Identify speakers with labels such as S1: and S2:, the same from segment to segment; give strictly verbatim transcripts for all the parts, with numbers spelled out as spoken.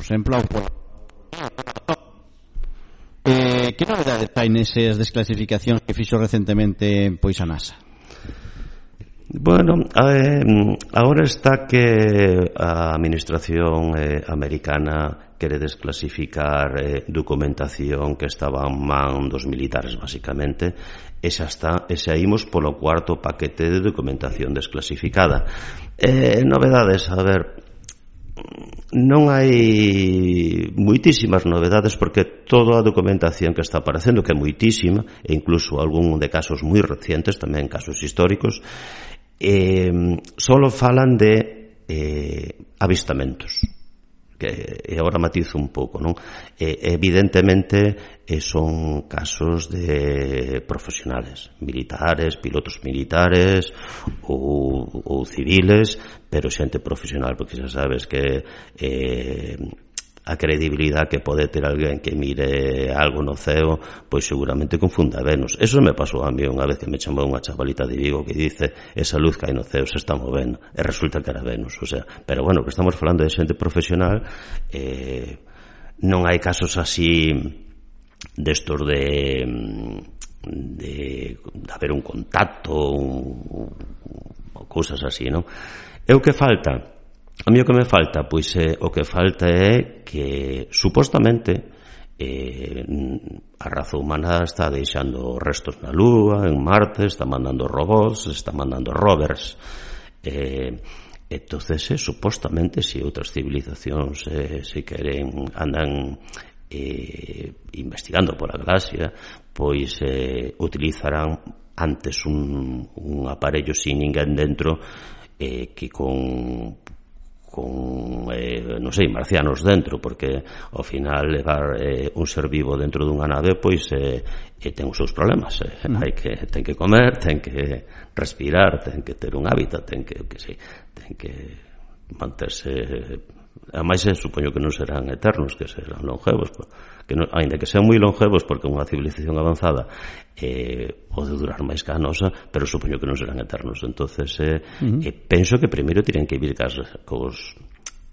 S1: exemplo, ao eh, que novedades hai nesas desclasificacións que fixo recentemente pois a NASA?
S2: Bueno, eh, agora está que a administración eh, americana quere desclasificar eh, documentación que estaba en man dos militares, basicamente, e xa está, e xa imos polo cuarto paquete de documentación desclasificada. Eh, novedades, a ver, non hai moitísimas novedades porque toda a documentación que está aparecendo, que é moitísima, e incluso algún de casos moi recientes, tamén casos históricos, eh, solo falan de eh, avistamentos, que e agora matizo un pouco, non? Eh, evidentemente eh, son casos de profesionales, militares, pilotos militares ou, ou civiles, pero xente profesional, porque xa sabes que eh, a credibilidade que pode ter alguén que mire algo no ceo, pois seguramente confunda Venus. Eso me pasou a mí unha vez que me chamou unha chavalita de Vigo que dice esa luz que hai no ceo se está movendo, e resulta que era Venus. O sea, pero bueno, que estamos falando de xente profesional, eh, non hai casos así destos de de, de haber un contacto un, un, cousas así, non? E o que falta? A mí o que me falta, pois é, o que falta é que supostamente eh, a raza humana está deixando restos na Lúa, en Marte, está mandando robots, está mandando rovers. Eh, entonces, eh, supostamente, se si outras civilizacións eh, se queren, andan eh, investigando pola galaxia, pois eh, utilizarán antes un, un aparello sin ninguén dentro eh, que con con, eh, non sei, marcianos dentro, porque ao final levar eh, un ser vivo dentro dunha nave pois eh, eh, ten os seus problemas, eh. hai que, ten que comer, ten que respirar, ten que ter un hábitat, ten que, que sei, ten que manterse. Ademais, supoño que non serán eternos, que serán longevos, que non, ainda que sean moi longevos, porque unha civilización avanzada eh, pode durar máis que a nosa, pero supoño que non serán eternos. Entonces, eh, uh-huh. eh, penso que primeiro tiren que vir cas, cos,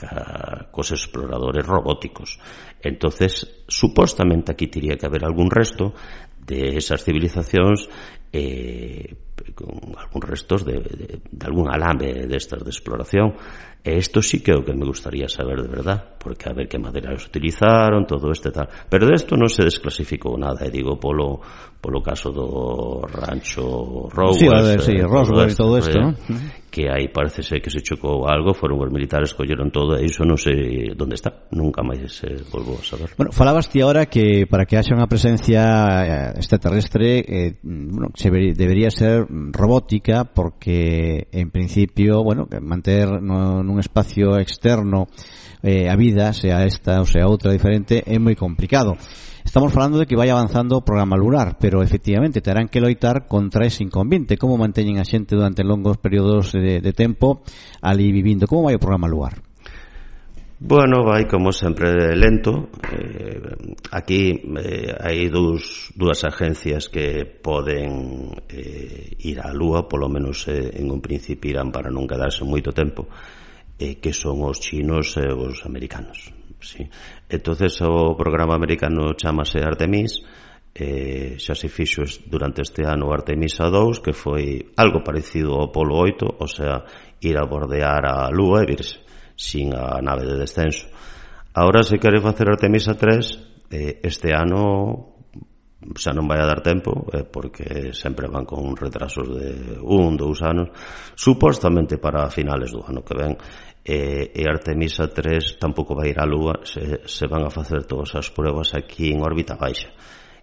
S2: ca, cos exploradores robóticos. Entonces, supostamente aquí tiría que haber algún resto de esas civilizacións, eh, con algún restos de, de, de algún alambre destas de exploración. E isto sí que é o que me gustaría saber de verdad, porque a ver que materiales utilizaron, todo este tal. Pero de isto non se desclasificou nada, e digo polo polo caso do rancho Roswell,
S1: sí, a ver, sí, Roswell e todo isto, ¿no?
S2: Que aí parece ser que se chocou algo, foron os militares, colleron todo, e iso non sei onde está, nunca máis se volvou a saber.
S1: Bueno, falabas ti ahora que para que haxa unha presencia extraterrestre eh, bueno, se ver, debería ser robótica, porque en principio, bueno, manter no, nun espacio externo eh, a vida, sea esta ou sea outra diferente, é moi complicado. Estamos falando de que vai avanzando o programa lunar, pero efectivamente terán que loitar contra ese inconveniente. Como manteñen a xente durante longos períodos de, de tempo ali vivindo? Como vai o programa lunar?
S2: Bueno, vai como sempre lento. Eh, aquí eh, hai dous, dúas agencias que poden eh, ir á Lúa, polo menos eh, en un principio irán para non quedarse moito tempo, eh, que son os chinos e os americanos. Sí. Entonces o programa americano chamase Artemis, eh, xa se fixo durante este ano Artemisa dous, que foi algo parecido ao Apolo oito, o sea, ir a bordear a Lúa e virse sin a nave de descenso. Ahora se quere facer Artemisa tres, eh, este ano xa non vai a dar tempo, eh, porque sempre van con retrasos de un, dous anos, supostamente para finales do ano que ven. E, e Artemisa tres tampouco vai ir á Lúa, se, se van a facer todas as pruebas aquí en órbita baixa,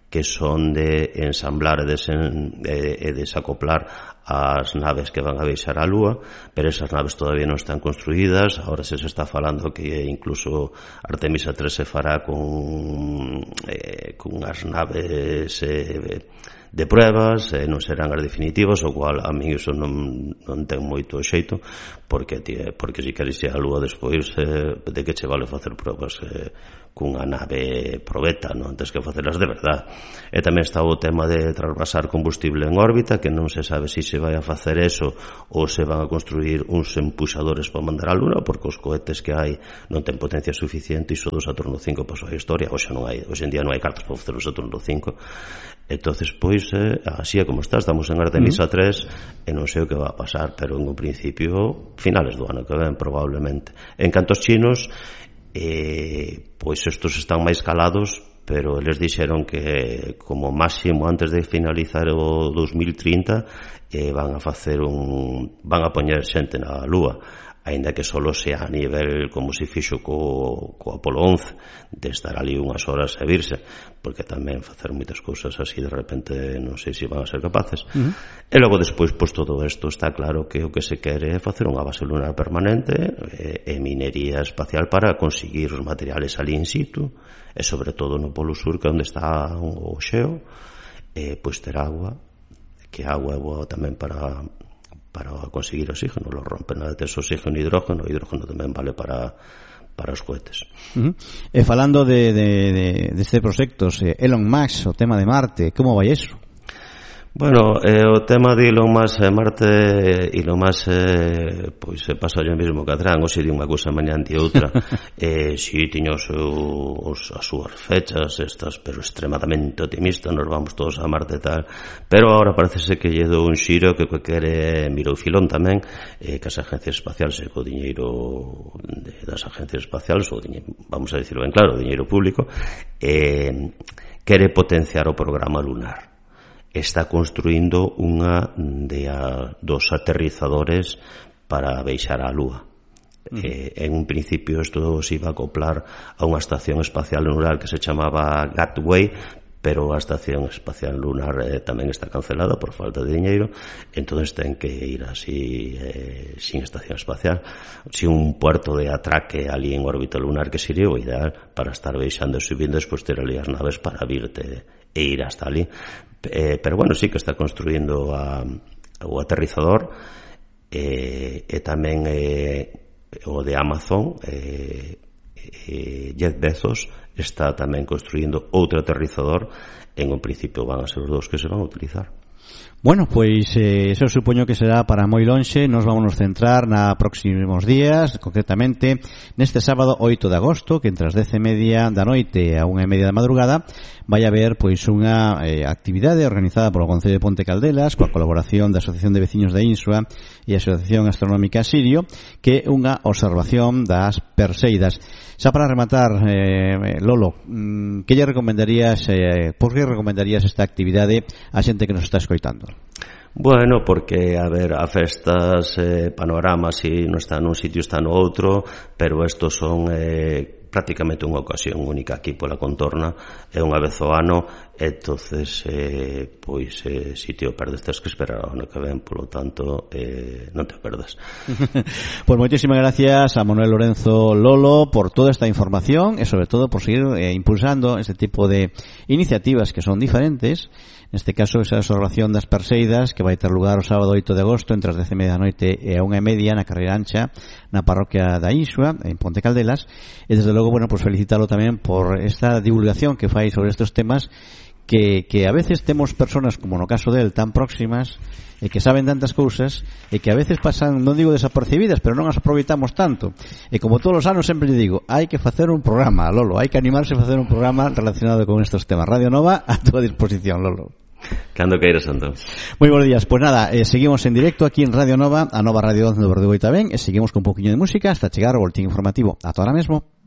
S2: que son de ensamblar e, desen, e, e desacoplar as naves que van a baixar á Lúa, pero esas naves todavía non están construídas. Ahora se se está falando que incluso Artemisa tres se fará con, eh, con as naves eh, de pruebas, eh, non serán as definitivas, o cual a mí iso non, non ten moito xeito, porque, tío, porque se queres ir á Lúa despois, eh, de que che vale facer pruebas eh, cunha nave probeta, non antes que facelas de verdad. E tamén está o tema de trasvasar combustible en órbita, que non se sabe se se vai a facer eso ou se van a construir uns empuxadores para mandar á Luna, porque os cohetes que hai non ten potencia suficiente, e iso do Saturno cinco pasou a historia. Hoxe non hai, hoxe en día non hai cartas para facer o Saturno cinco. Entonces, pois, eh, así é como está, estamos en Artemisa tres e non sei o que va a pasar, pero en un principio finales do ano que ven probablemente. En canto aos chinos, eh, pois estos están máis calados, pero eles dixeron que como máximo antes de finalizar o dos mil trinta eh, van a facer un van a poñer xente na Lúa, aínda que solo sea a nivel como se fixo co, co Apolo once, de estar ali unhas horas e virse, porque tamén facer moitas cousas así de repente non sei se van a ser capaces. Uh-huh. E logo despois, pois todo isto está claro que o que se quere é facer unha base lunar permanente e, e minería espacial para conseguir os materiales ali in situ, e sobre todo no Polo Sur, que é onde está o xeo, e pois ter agua, que a agua é boa tamén para para conseguir oxígeno, lo rompen a tes oxígeno e hidrógeno, o hidrógeno tamén vale para para os cohetes.
S1: Uh-huh. E falando de, de, de, de este proxectos, eh, Elon Musk, o tema de Marte, como vai eso?
S2: Bueno, eh, o tema de Elon Musk e Marte, Elon Musk eh, pois se pasa yo mesmo que atrán, ou se di unha cousa mañá ante outra. eh, si tiña os, os, as súas fechas estas, pero extremadamente optimista, nos vamos todos a Marte e tal, pero agora parece que lle dou un xiro que que quere mirou filón tamén, eh, que as agencias espaciales e co diñeiro de, das agencias espaciales, ou diñeiro, vamos a dicirlo ben claro, o diñeiro público, eh, quere potenciar o programa lunar. Está construindo unha de a, dos aterrizadores para baixar á Lúa. Uh-huh. Eh, en un principio isto se iba a acoplar a unha estación espacial lunar que se chamaba Gateway, pero a estación espacial lunar eh, tamén está cancelada por falta de diñeiro, entonces ten que ir así eh, sin estación espacial, sin un puerto de atraque ali en órbita lunar, que sería o ideal para estar baixando e subindo, despois ter ali as naves para virte e ir hasta ali. Eh, pero bueno, sí que está construindo a, o aterrizador, eh, e tamén eh, o de Amazon, eh, eh, Jeff Bezos está tamén construindo outro aterrizador. En un principio van a ser os dous que se van a utilizar.
S1: Bueno, pois eh, eso supoño que será para moi lonxe. Nos vamos centrar na próximos días, concretamente neste sábado oito de agosto, que entre as dez e media da noite a unha e media da madrugada vai haber pois unha eh, actividade organizada polo Concello de Ponte Caldelas coa colaboración da Asociación de Veciños da Insua e a Asociación Astronómica Sirio, que é unha observación das Perseidas. Xa para rematar, eh, Lolo, que lle recomendarías, eh, por que recomendarías esta actividade a xente que nos está escoitando?
S2: Bueno, porque, a ver, a festas, eh, panoramas, si non está nun sitio, está no outro, pero estos son eh, prácticamente unha ocasión única aquí pola contorna, é unha vez ao ano, entonces eh, pois eh, si te o perdes tens que esperar ao ano que ven, polo tanto eh, non te o perdas.
S1: Pues moitísimas gracias a Manuel Lorenzo Lolo por toda esta información e sobre todo por seguir eh, impulsando este tipo de iniciativas que son diferentes. Neste caso, esa observación das Perseidas que vai ter lugar o sábado oito de agosto entre as dez e media da noite e a unha e media na carreira ancha na parroquia da Insua, en Ponte Caldelas. E desde logo, bueno, pues felicitalo tamén por esta divulgación que fai sobre estes temas que, que a veces temos personas, como no caso del, tan próximas e que saben tantas cousas e que a veces pasan, non digo desapercibidas, pero non as aproveitamos tanto. E como todos os anos sempre digo, hai que facer un programa, Lolo, hai que animarse a facer un programa relacionado con estes temas. Radio Nova a túa disposición, Lolo.
S2: Cando queiras, Antón.
S1: Moi bons días. Pois nada, eh, seguimos en directo aquí en Radio Nova, a Nova Radio once do Verdugo e tamén, e seguimos con un poquinho de música hasta chegar ao boletín informativo. Ata ahora mesmo.